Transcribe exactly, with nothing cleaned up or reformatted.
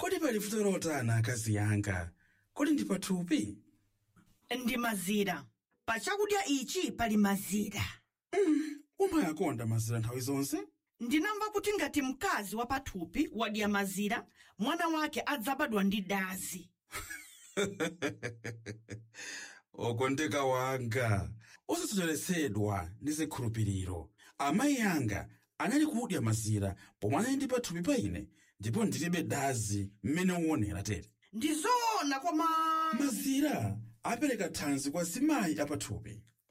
Kodi pali vuto lotani, akazi yanga? Kodi ndi pathupi? Ndi mazira. Pa chakudya ichi pali mazira. Umayakonda mazira nthawi zonse. Ndinamva kuti ngati mkazi wa pathupi wadya mazira, mwana wake adzabadwa ndi dazi. Okondeka wanga, osasocheretsedwa ndi zikhulupiriro. Amayi anga anali kudya mazira pomwe anali ndi pathupi pa ine, ndipo ndilibe dazi mmene uonera tere. Ndi zoona, koma Mazira apereka thanzi kwa zimayi apathupi.